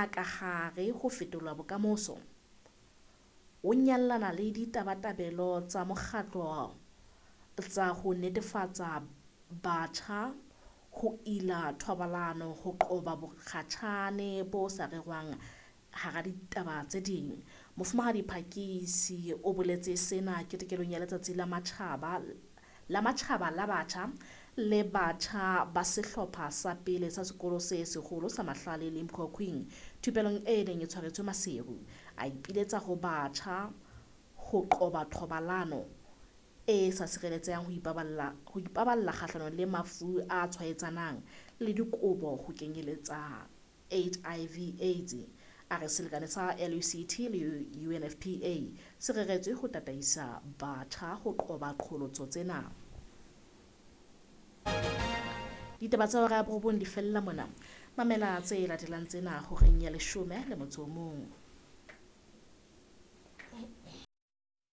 Ka hare ho Fetola Bokamoso, o nyallana le ditabatabelo tsa mokgatlo tsa ho netefatsa batjha ho ila thobalano, ho qoba bokgatjhane bo sa rerwang hara ditaba tse ding. Mofumahadi Phakisi o boletse sena ketekong ya Letsatsi la Matjhaba la Batjha le batjha ba sehlopha sa pele sa Sekolo se Seholo sa Mahlale Limkokwing thupelong e neng e tshwaretswe Maseru. A ipiletsa ho batjha ho qoba thobalano e sa sireletsehang, ho ipaballa kgahlanong le mafu a tshwaetsanang le dikobo ho kenyeletsa HIV Aids. A re selekane sa LUCT le UNFPA se reretswe ho tataisa batjha ho qoba qholotso tsena. Ditaba tsa hora ya borobong di fella mona. Mamela tse latelang tsena horeng ya 11.